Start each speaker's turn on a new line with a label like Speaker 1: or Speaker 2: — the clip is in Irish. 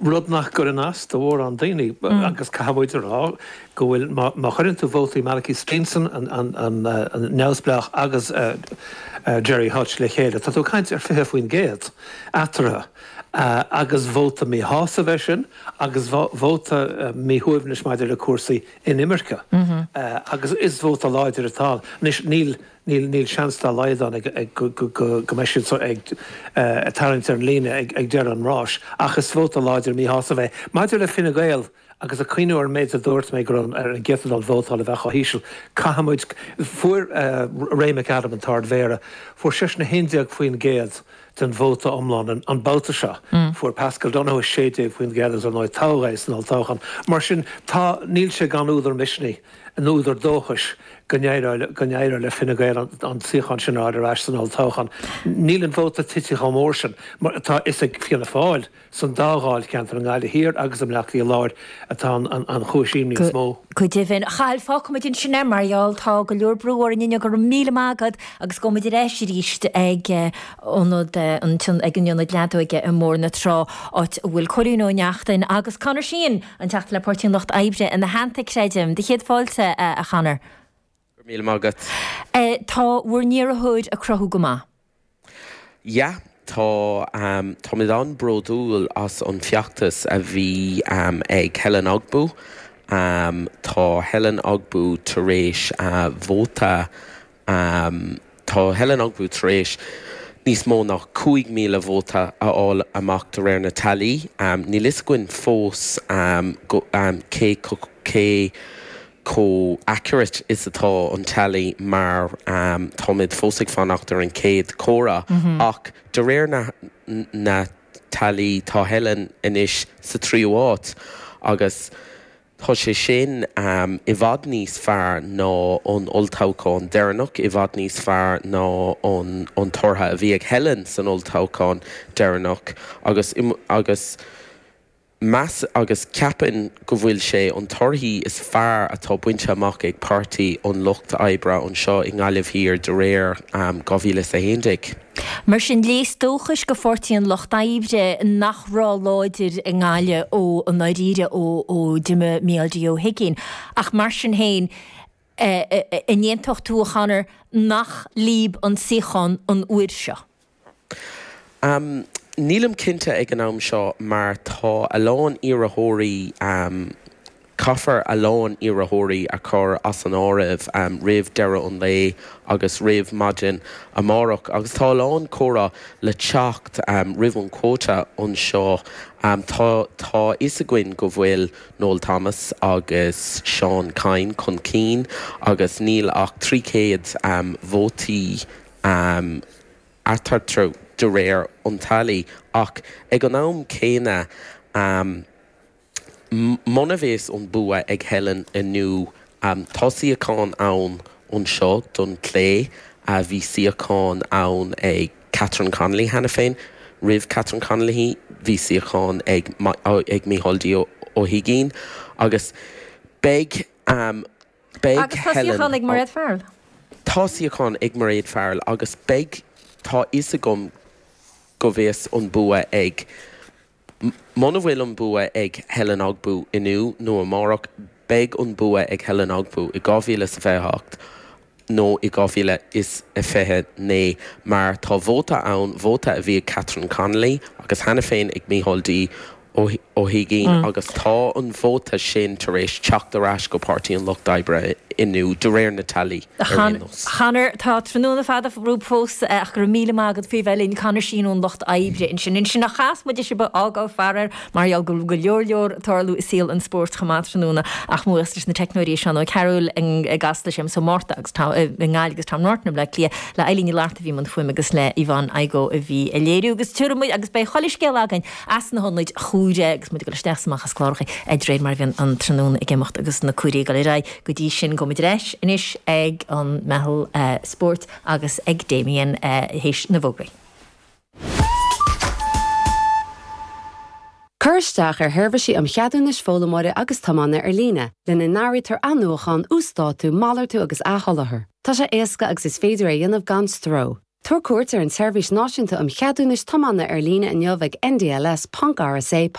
Speaker 1: Rud nach gcuireann as do mhórán daoine, agus caithfidh muid a rá go bhfuil, má chuireann tú vótaí Malachy Steenson, an neamhspleách, agus Gerry Hutch le chéile, tá tú ag caint ar 20% eatarthu. Agus vóta míshásaimh é sin, agus vóta míshuaimhnis maidir le cúrsaí inimirce. Agus is vóta láidir atá ann. Anois, níl. Níl seans dá laghad ann go mbeidh siad ag tarraingt ar an líne ag deireadh an ráis, ach is vóta láidir míshásaimh é. Maidir le Fine Gael, agus ag cuimhniú ar an méid a dúirt mé go raibh ar an gcéatadán vótála a bheith chomh híseal, caithfidh muid, fuair Ray McAdam, an tArd-Mhéara, fuair seisean 11% den vóta iomlán an babhta seo. Fuair Paschal Donohoe 16% agus ar ndóigh toghadh é san olltoghchán. Mar sin, tá, níl sé gan údar misnigh. nó údar dóchais go n-éireoidh le Fine Gael an suíochán sin a fháil ar ais san olltoghchán. Níl an vóta tite chomh mór sin mar atá is ag Fianna Fáil san dá dháilcheantar, i nGaillimh Thiar agus i mBleá Cliath Láir, atá an chúis imní is mó.
Speaker 2: Go deimhin. A Chathail, fágfaimid ansin é mar gheall tá go leor brú orainn inniu. Go raibh míle maith agat agus gabhfaimid ar ais arís ag ionad an ag an ionad leadóige i mBóthar na Trá áit a bhfuil Cóilín Ó Neachtain agus Conor Sheehan An Teachta le Páirtí an Lucht Oibre ina theannta, creidim. Do chéad fáilte, a Chonor.
Speaker 3: Go raibh míle maith agat.
Speaker 2: Tá bhur n-iarrthóir ag cruthú go maith.
Speaker 3: Yeah, tá. Táimid an-bhródúil as an feachtas a bhí ag Helen Ogbu. Tá Helen Ogbu tar éis vóta Tá Helen Ogbu tar éis níos mó ná 5,000 vóta a fháil amach de réir na teailí. Níl fhios againn fós cé cé chomh accurate is atá an teailí mar táimid fós ag fanacht ar an chéad chomhaireamh ach de réir na na teailí tá Helen anois sa tríú háit agus Tá sé sin i bhfad níos fearr ná an olltoghchán deireanach, i bhfad níos fearr ná an tortha a bhí ag Helen san olltoghchán deireanach agus agus meas agus ceapaim go bhfuil sé an torthaí is fearr atá bainte amach ag Páirtí an Lucht Oibre anseo i nGaillimh Thiar de réir 2011.
Speaker 2: Mar sin, léas dóchais go Pháirtí an Lucht Oibre nach raibh láidir i nGaillimh ó i ndáiríre ó d'imigh Mícheál D Ó hUiginn. Ach mar sin féin, an aontódh tú, a Chonor, nach líob an suíochán an uair seo?
Speaker 3: Nílim cinnte ag an am seo mar tá a lán iarrthóirí, caithfear a lán iarrthóirí a chur as an áireamh roimh deireadh an lae agus roimh maidin amárach agus tá a lán comhrá le teacht roimh an quota anseo. Tá tá fhios againn go bhfuil Noel Thomas agus Seán Kyne chun cinn agus níl ach 300 vótaí eatarthu de réir an teailí ach ag an am céanna muna bheas an bua ag Helen inniu tá suíochán ann anseo don chlé, bhí suíochán ann ag Catherine Connolly cheana féin, roimh Catherine Connolly bhí suíochán ag ag Micheál D Ó hUiginn agus beidh
Speaker 2: Beidh Agus tá
Speaker 3: Helen
Speaker 2: suíochán ag Mairéad Farrell.
Speaker 3: Tá suíochán ag Mairéad Farrell agus beidh, tá fhios agam go bheas an bua ag, muna bhfuil an bua ag Helen Ogbu inniu nó amárach, beidh an bua ag Helen Ogbu i 2028 nó i 2029 mar tá vóta ann, vóta a bhí ag Catherine Connolly agus cheana féin ag Micheál D Ó hUiginn agus tá an vóta sin tar éis teacht ar ais go Páirtí an Lucht Oibre inniu, de réir na teailí, ar aon nós.
Speaker 2: Conor, tá tráthnóna fada romhaibh fós ach go raibh míle maith agat faoi bheith linn. Conor Sheehan ón Lucht Oibre ansin. Ansin ach chas muid sibh a fhágáil faraor mar gheall go bhfuil go leor leor ag tarlú i saol an spóirt chomh maith tráthnóna ach mo bhuíochas leis na teicneoirí Seán Ó Cearúil i gCasla, Séamus Ó Márta agus i nGaillimh agus Tom Norton i mBleá Cliath, le Eileen Ní Fhlatharta a bhí i mbun fuaime agus le Yvonne Igoe a bhí ag léiriú agus tabharfaidh muid agus beidh chuile scéal againn as na hionaid chomhairimh agus muid ag dul isteach is amach as cláracha de réir mar a bhíonn an tráthnóna ag imeacht agus na comhairí ag dul ar aghaidh. Go dtí sin, gabhfaidh muid ar ais anois ag an meitheal spóirt agus ag Damien théis na bhfógraí.
Speaker 4: Cuir isteach ar sheirbhísí um cheadúnais foghlaimeora agus tiomána ar líne, lena n-áirítear athnuachan, uasdátú, malartú agus athsholáthar. Tá sé éasca agus is féidir é a dhéanamh gan stró. Tabhair cuairt ar an tSeirbhís Náisiúnta um Cheadúnais Tiomána ar líne inniu ag ndls.rsa.gov.